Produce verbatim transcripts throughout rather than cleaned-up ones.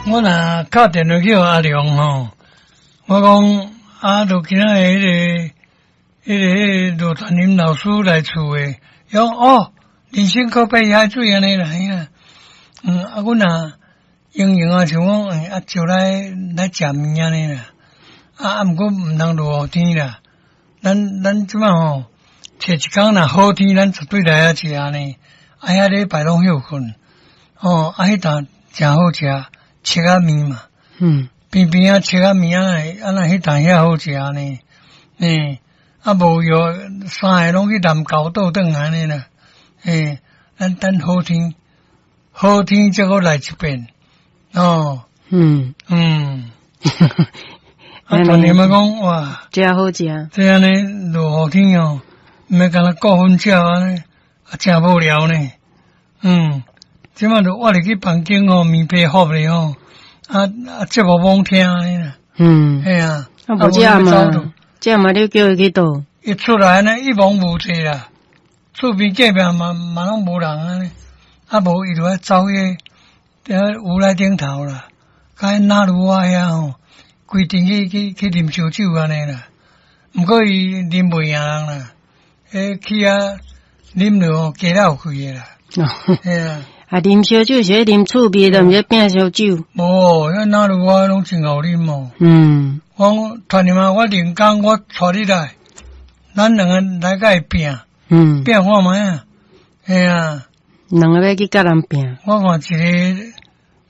我若敲電話去予阿良吼，我講啊，就今仔日彼個、彼個、彼個羅傳林老師來厝的，伊講哦，人生可比海水按呢啦，啊，嗯，啊，阮若閒閒啊，像講，啊，招來來食麵按呢啦，啊啊，毋過毋通落雨天啦，咱咱這擺吼，揣一工若好天，咱絕對來遐食呢，啊，遐禮拜攏歇睏，哦，啊，彼頓誠好食，粟仔麵嘛，嗯，邊邊仔粟仔麵啊，啊若彼頓遐好食呢，嗯，啊無藥三个攏去南投倒轉來按呢啦，欸，咱等好天，好天才閣來一遍，哦，嗯嗯，啊，團員們講哇，誠好食，這按呢落雨天哦，毋免干焦顧薰鳥按呢，啊，誠無聊呢，嗯，這擺就我入去房間吼，棉被覆咧吼，啊啊節目罔聽按呢啦，嗯，嘿啊，啊無這嘛，這嘛你叫伊去倒，伊出來呢一望無際啦，厝邊隔壁嘛嘛攏無人按呢，啊無伊就愛走去佇烏來頂頭啦，共彼那魯灣遐吼，規陣去去去啉燒酒按呢啦，毋過伊啉袂贏人啦，彼去遐啉落吼加了有開的啦，嘿啊，啊啉燒酒是咧啉趣味的，毋是拼燒酒。無，彼那魯灣攏真𠢕啉哦。嗯，我講團員啊，我靈工我帶你來，咱兩个來共伊拼，嗯，拼看覓啊？嘿啊，兩个欲去佮人拼。我看一个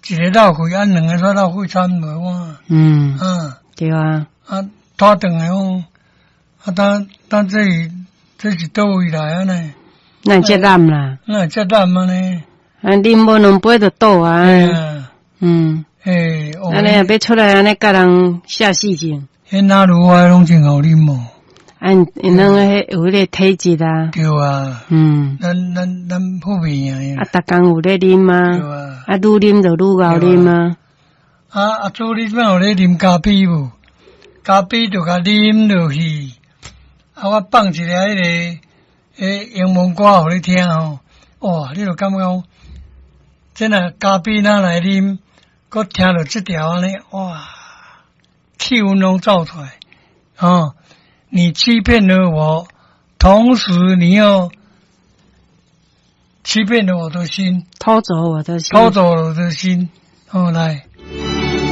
一个落氣，啊兩个煞落氣慘無我。嗯，啊，對啊。啊，拖轉來講，啊，當當這是這是佗位來按呢？咱會遮攬啦。咱會遮攬按呢？啊，啉無兩杯就倒啊。嗯。欸，按呢若欲出來按呢共人下死症。彼那魯灣攏真𠢕啉哦。啊，𪜶兩個彼有彼个體質啊。對啊。嗯。咱咱咱普遍贏。啊，逐工有咧啉啊。對啊。啊，愈啉就愈𠢕啉啊。啊啊，祖你這擺有咧啉咖啡無？咖啡就共啉落去。啊，我放一个彼个彼英文歌予你聽吼。哇，你就感覺講，這若咖啡若來啉，閣聽著這條按呢，哇，氣氛攏走出來。哦，你欺騙了我，同時你又欺騙了我的心，偷走我的心，偷走了我的心。哦，來。